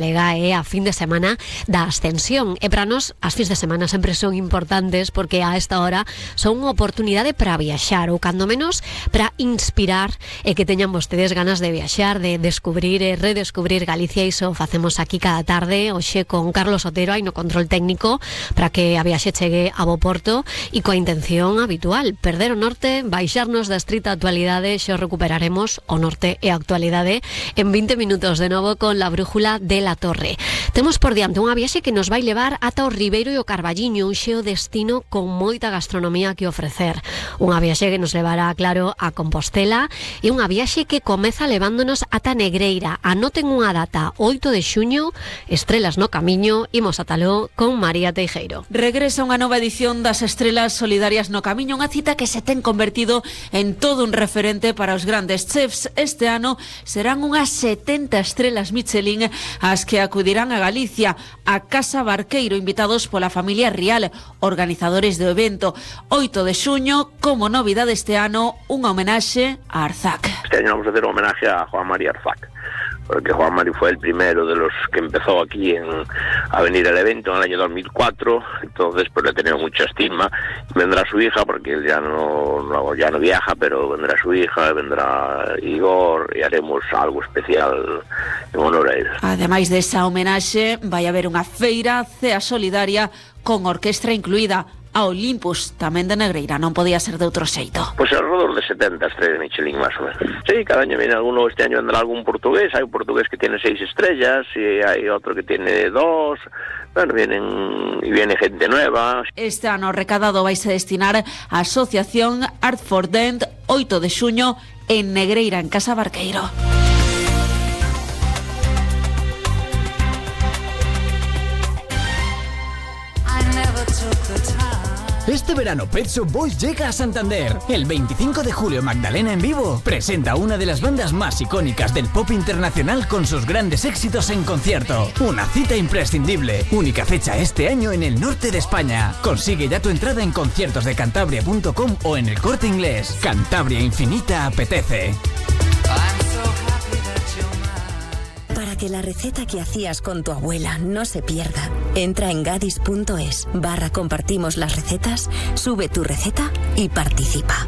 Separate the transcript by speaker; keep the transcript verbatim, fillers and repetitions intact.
Speaker 1: Lega é a fin de semana da Ascensión e para nós as fins de semana sempre son importantes porque a esta hora son unha oportunidade para viaxar ou cando menos para inspirar e que teñan vostedes ganas de viaxar, de descubrir e redescubrir Galicia. Iso facemos aquí cada tarde hoxe con Carlos Otero aí no control técnico para que a viaxe chegue a bo porto e coa intención habitual, perder o norte, baixarnos da estrita actualidade. Xo recuperaremos o norte e a actualidade en vinte minutos de novo con la brújula de la Torre. Temos por diante unha viaxe que nos vai levar ata o Ribeiro e o Carballiño, un xeo destino con moita gastronomía que ofrecer. Unha viaxe que nos levará, claro, a Compostela e unha viaxe que comeza levándonos ata Negreira. Anoten unha data, oito de xuño, Estrelas no Camiño, imos atalo con María Teijeiro.
Speaker 2: Regresa unha nova edición das Estrelas Solidarias no Camiño, unha cita que se ten convertido en todo un referente para os grandes chefs. Este ano serán unhas setenta estrelas Michelin as que acudirán a Galicia, a Casa Barqueiro, invitados pola familia Rial, organizadores do evento. oito de xuño, como novidade este ano, unha homenaxe a Arzac.
Speaker 3: Este año vamos a hacer un homenaje a Juan Mari Arzac, porque Juan Mari fue el primero de los que empezó aquí en, a venir al evento en el año dos mil cuatro, entonces pues le tenemos mucha estima. Vendrá su hija, porque él ya no, no, ya no viaja, pero vendrá su hija, vendrá Igor y haremos algo especial en honor a él.
Speaker 2: Ademais desa homenaxe, vai haber unha feira cea solidaria con orquestra incluída. A Olympus, tamén de Negreira, non podía ser de outro xeito.
Speaker 3: Pues alrededor de setenta estrellas Michelin, más o menos. Sí, cada año viene alguno, este año vendrá algún portugués, hay un portugués que tiene seis estrellas y hay otro que tiene dos. Bueno, vienen y viene gente nueva.
Speaker 2: Este ano recadado vais a destinar a Asociación Art for Dent, oito de xuño, en Negreira, en Casa Barqueiro.
Speaker 4: Este verano Pet Shop Boys llega a Santander. El veinticinco de julio Magdalena en vivo presenta una de las bandas más icónicas del pop internacional con sus grandes éxitos en concierto. Una cita imprescindible. Única fecha este año en el norte de España. Consigue ya tu entrada en conciertos de cantabria punto com o en el Corte Inglés. Cantabria Infinita apetece.
Speaker 5: Para que la receta que hacías con tu abuela no se pierda, entra en gadis punto es barra compartimos las recetas, sube tu receta y participa.